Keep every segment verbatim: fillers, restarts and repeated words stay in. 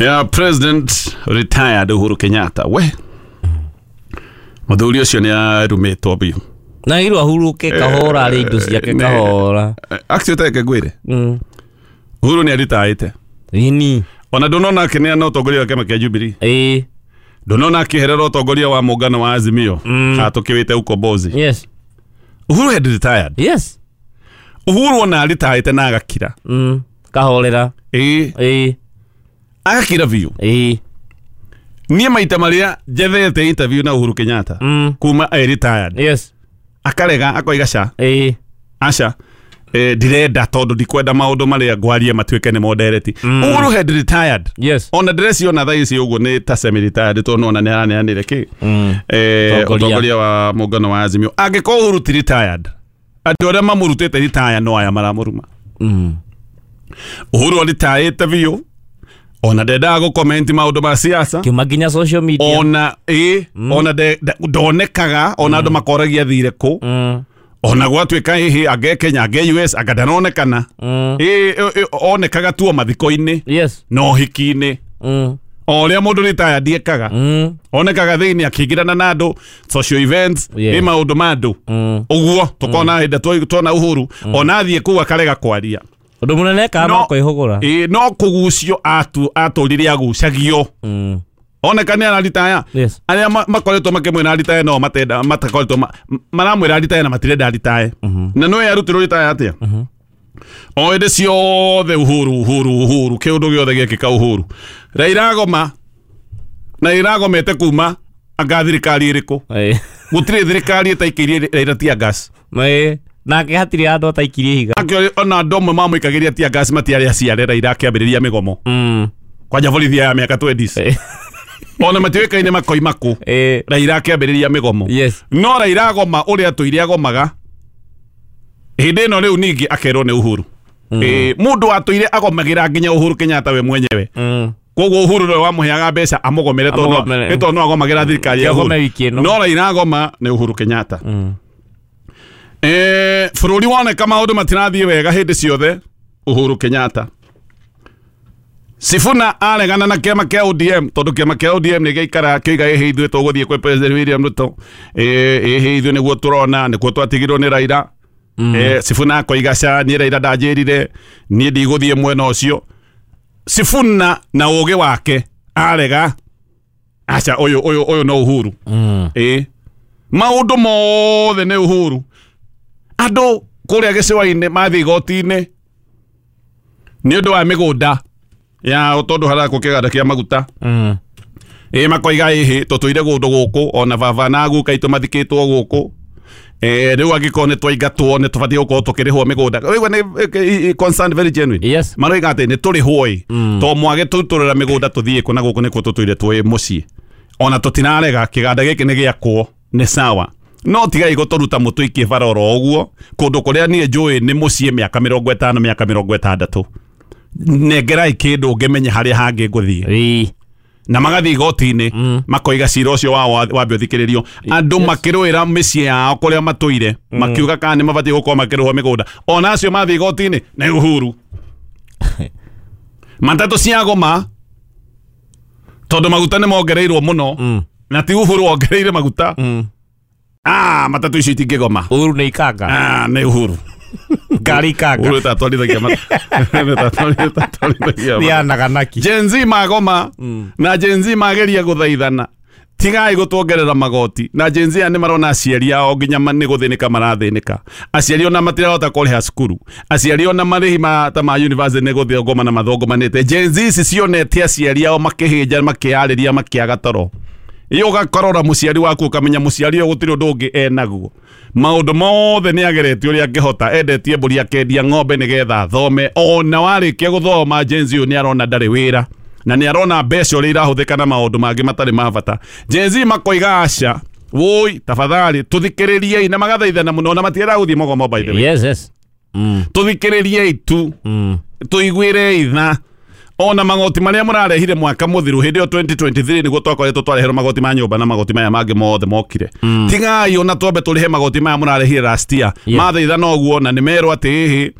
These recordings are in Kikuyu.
Ya President retired Uhuru Kenyatta we muthuri ucio ni arumitwo biu na irwa ahuruke kahora ari indo ciake kahora actually take ngwire mm Uhuru ni aritaite ini ona ndonona akineana utongoria wa kiama kia Jubilee eh ndonona akiherera utongoria wa muungano wa Azimio mm. atukiwite ukombozi. Yes. Uhuru had retired. Yes. Uhuru ona aritaite na agakira mm kahorera eh eh agakira biu eh nie maita maria njethete interview na Uhuru Kenyatta mm. kuma e retired. Yes. Akarega akoiga ca eh aca eh ndirenda tondu ndikwenda maundu maria ngwarie matuike ni moderate. Mm. Uhuru had retired. Yes. Ona dress yona thaa ici uguo ni ta semi retired tondu ona ni araneanire ki mm. eh utongoria wa muungano wa Azimio angĩkorwo Uhuru ti retired andu aria mamurutite retire no aya maramuruma. Mm. Uhuru aritaite biũ ona ndendaga gũcomment maũndũ ma siasa kiuma nginya social media ona ĩ mm. ona ndonekaga ona andũ makoragia thire kũ mm. ona gwatuĩka hihi ange Kenya ange U S anga ndanonekana mm. ĩ onekaga tuo mathiko-inĩ. Yes. Na ũhiki-inĩ mm. o ũrĩa mũndũ retired ekaga mm. onekaga thĩinĩ akĩingĩrana na andũ social events Yeah. ĩ maũndũ ma andũ mm. ũguo tũkona hĩndĩ tuona Uhuru mm. ona athiĩ kũu akarega kwaria undu munene ka No. no kwihugura ĩ no kũgucio atu atũrire agucagio mm. oneka nĩ araritaya Yes. arĩa makoretwo makĩmwĩra aritaye no matenda matakoretwo maramwĩra aritaye na matirenda aritaye mm-hmm. na no yarutirwo ritaya atĩa mm-hmm. o hĩndĩ ciothe Uhuru Uhuru Uhuru kĩũndũ gĩothe gĩekĩka Uhuru Raila agoma na Raila agomete kuma anga thirikari ĩrĩkũ eh gũtirĩ thirikari ĩtaikĩirie Raila tear gas eh nake hatirĩ andũ ataikirie ihiga akĩo ona andũ amwe mamũikagĩria tear gas matiarĩ aciare Raila akĩambĩrĩria mĩgomo mm. kwanja borithi ya mĩaka twenties eh ona matiũĩkaine makoima kũ eh Raila akĩambĩrĩria mĩgomo. Yes. No Raila agoma ũrĩa atũire agomaga hĩndĩ ĩno rĩu ningĩ akerwo nĩ Uhuru mm. eh mũndũ atũire agomagĩra nginya Uhuru Kenyatta we mwenyewe mm. koguo Uhuru nĩwe wamũheaga mbeca amũgomere tondũ Amũgomere. nĩ tondũ no agomagĩra thirikari ya Uhuru Agome wiki ĩno. no Raila agoma nĩ Uhuru Kenyatta mm. eh bũrũri woneka maũndũ matirathiĩ wega hĩndĩ ciothe Uhuru Kenyatta Sifuna aregana na kĩama kĩa O D M tondũ kĩama kĩa O D M nĩ gĩaikara kĩoiga ĩhĩ ithuĩ tũgũthiĩ kwĩ President William Ruto ĩ ĩhĩ ithuĩ nĩguo tũrona nĩkuo twatigirwo nĩ Raila mm. eh Sifuna akoiga ca niĩ Raila ndanjĩrire niĩ ndigũthiĩ mwena ũcio Sifuna na ũgĩ wake arega aca ũyũ ũyũ ũyũ no Uhuru mm. ĩ maũndũ mothe nĩ Uhuru andũ kũrĩa gĩcũa-inĩ mathiĩ igoti-inĩ nĩ ũndũ wa mĩgũnda ya tondũ harakwo kĩganda kĩa maguta mm. ĩ makoiga ĩhĩ tũtũire kũndũ gũkũ ona baba na guka itũ mathikĩtwo gũkũ eh rĩu angĩkorwo nĩ twaingatwo nĩ tũbatiĩ gũkorwo tũkĩrĩhwo mĩgũnda ũigua nĩ concern very genuine. Yes. Maroiga atĩ nĩ tũrĩhwo ĩ Mm. to mwage tũtũrĩra mĩgũnda tũthiĩ kũ na gũkũ nĩkuo tũtũire twĩ mũciĩ ona tũtinarega kĩganda gĩkĩ nĩ gĩakwo nĩ sawa no tigai gũtũruta mũtũikie bara oro ũguo kũndũ kũrĩa niĩ njũĩ nĩ mũciĩ mĩaka mĩrongo ĩtano mĩaka mĩrongo ĩtandatũ nengerai kĩndũ ngĩmenye harĩa hangĩ ngũthiĩ ĩ na magathiĩ igoti-inĩ Mm. makoiga cira ũcio wao wambe ũthikĩrĩrio andũ Yes. makĩrũĩra mĩciĩ yao kũrĩa matũire makiuga kana nĩ mabatiĩ gũkorwo makĩrĩhwo mĩgũnda ona acio mathiĩ igoti-inĩ nĩ Uhuru matatũ ciagoma tondũ maguta nĩ mongereirwo mũno mm. na ti Uhuru wongereire maguta mm. ah matatũ icio itingĩgoma Uhuru nĩ ikanga ah nĩ Uhuru ngari ikanga Uhuru tatwarithagia tatwarithagia nĩ anaganaki Gen Z magoma mm. na Gen Z mageria gũthaithana tigai gũtuongerera magoti na Gen Z aya nĩ marona aciari ao nginya nĩ gũthĩnĩka marathĩnĩka aciari ona matirahota kũrĩha cukuru aciari ona marĩhi ma ta ma university nĩ gũthũngũma na mathũngũmanĩte Gen Z ici cionete aciari ao makĩhĩnja makĩarĩria makĩaga toro iyo ũgakorora mũciari waku ũkamenya mũciari ũyũ gũtirĩ ũndũ ũngĩ enaguo maũndũ mothe nĩ ageretie ũrĩa angĩhota endetie mbũri akendia ng'ombe nĩgetha athome ona warĩkia gũthoma Gen Z ũyũ nĩ arona ndarĩ wĩra na nĩ arona mbeca ũrĩa irahũthĩka na maũndũ mangĩ matarĩ ma bata Gen Z makoiga aca woi tafadhali tũthikĩrĩriei na magathaithana mũno na matiendaga gũthiĩ mũgomo by the way Yes, yes. Mm. tũthikĩrĩriei tu Mm. tũiguĩrei tha ona magoti maria murarehire mwaka muthiru hindi yo twenty twenty-three niguo twakoretwo twareherwo magoti ma nyumba na magoti maya mangi mothe mokire mm. Tigai ona twambe turihe magoti maya murarehire last year Yeah. mathaitha noguo na nimerwo ati hihi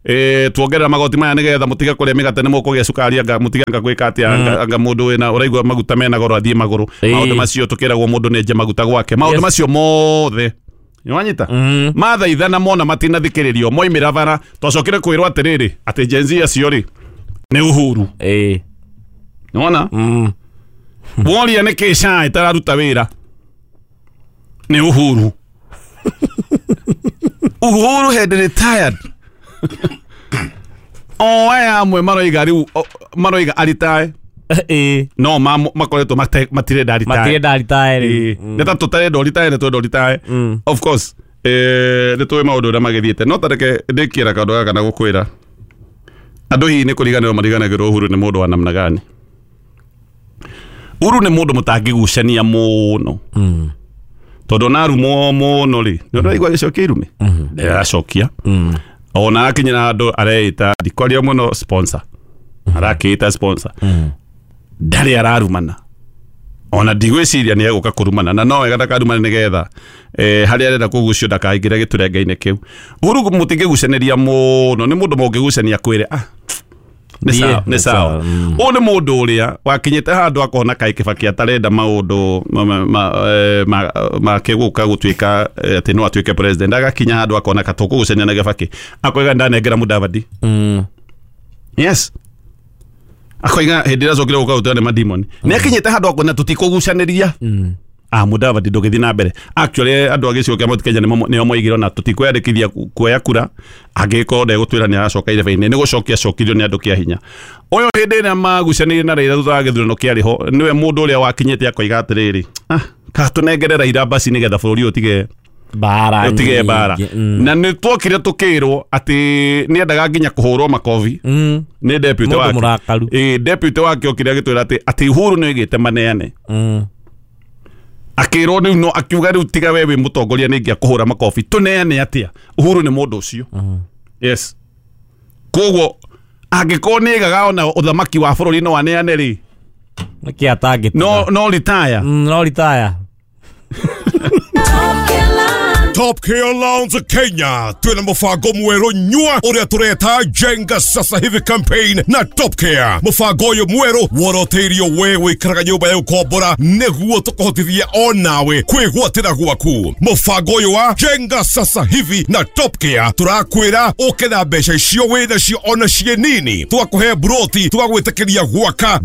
eh tuongerera magoti maya nigetha mutige kuria migate ni mukugia cukari anga mutige anga gwika atia anga, anga mundu wina uraigua maguta mena goro athie maguru. Ĩĩ. Maundu macio tukiragwo mundu nenje maguta gwake maundu Yes. macio mothe nĩwanyita Mm. mathaithana mona matinathikĩrĩrio moimĩra bara twacokire kwĩrwo atĩrĩrĩ atĩ Gen Z acio rĩ nĩ Uhuru. Ĩĩ. Nĩwona Mm. woria nĩ kĩ SHA ĩtararuta wĩra nĩ Uhuru. Uhuru had retired. O aya amwe maroiga rĩu o- maroiga aritae Ĩĩ. no ma- makoretwo mate- matirenda aritae. Matirenda aritae rĩu. Ĩĩ. Nĩ ta tũtarenda ũritae nĩ twenda ũritae. Mm. Of course eh, nĩ tũĩ maũndũ ũrĩa magĩthiĩte no tareke ndĩkie na kaũndũ gaka na gũkwĩra andũ hihi nĩ kũriganĩrwo mariganagĩrwo Uhuru nĩ mũndũ wa namna gani. Uhuru nĩ mũndũ mũtangĩgucania mũno Mm. tondũ ona arumwo mũno rĩ nĩ ũraigua agĩcokia irume ndĩracokia Mm. ona akinyĩra handũ areĩta ndikwaria mũno sponsor arakĩĩta sponsor Mm. ndarĩ ararumana ona ndigwĩciria nĩ egũka kũrumana na no wega ndakarumane nĩgetha eh, harĩa arenda kũgucio ndakaingĩre gĩturenge-inĩ kĩu. Uhuru mũtingĩgucanĩria mũno nĩ mũndũ mũngĩgucania kwĩre ah nĩ Ndiĩ, sawa nĩ nĩ sawa. sawa, mm. Ũyũ nĩ mũndũ ũrĩa wakinyĩte handũ akona kaĩ Kibaki atarenda maũndũ ma- ma- ma- eh, ma- make gũka gũtuĩka eh, atĩ no atuĩke president agakinya handũ akona ka tũkũgucania na Kibaki akoiga ndanengera Mudavadi. Mm. Yes akoiga hĩndĩ ĩrĩa acokire gũka gũteo nĩ madimoni nĩ akinyĩte handũ akona tũtikũgucanĩria. Mm. Ah Mudavadi ndũgĩthiĩ na mbere actually andũ a gĩcigo kĩa Mount Kenya nĩmo nĩo moigire ona tũtikwĩyandĩkithia ku- kuoya kura angĩkorwo ndegũtwĩra nĩ aracoka irebe-inĩ nĩ gũcokia acokirio nĩ andũ kĩa hinya. Ũyũ hĩndĩ ĩrĩa magucanĩirie na Raila thutha wa gĩthurano kĩarĩ ho nĩwe mũndũ ũrĩa wakinyĩte akoiga atĩrĩrĩ ah ka tũnengere Raila basi nĩgetha bũrũri ũyũ ũtige Mbara ũtige mbara. nyingĩ. Mm. Na nĩ twokire tũkĩrwo atĩ nĩendaga nginya kũhũrwo makobi Mm. nĩ deputy Mũndũ wake. mũrakaru. Ĩĩ deputy wake okire agĩtwĩra atĩ atĩ Uhuru nĩ oigĩte maneane Mm. akĩrwo rĩu no akiuga rĩu tiga we wĩ mũtongoria nĩ ingĩakũhũra makobi tũneane atĩa. Uhuru nĩ mũndũ ũcio. Yes koguo angĩkorwo nĩ aigaga ona ũthamaki wa bũrũri no aneane rĩ Nĩkĩ atangĩtiga? no no retire. Mm, no retire. Top Care Lounge Kenya twina mubango mweru nyua uria tureta Jenga Sasa Hivi campaign na Top Care. Mubango uyu mweru woroteirio we wikaraga nyumba ya ukombora niguo tukuhotithie onawe kwigwatira gwaku. Mubango uyu wa Jenga Sasa Hivi na Top Care turakwira uke na mbeca icio wĩ nacio ona ciĩ nini, twakuhe broti twagwĩtĩkĩria gwaka.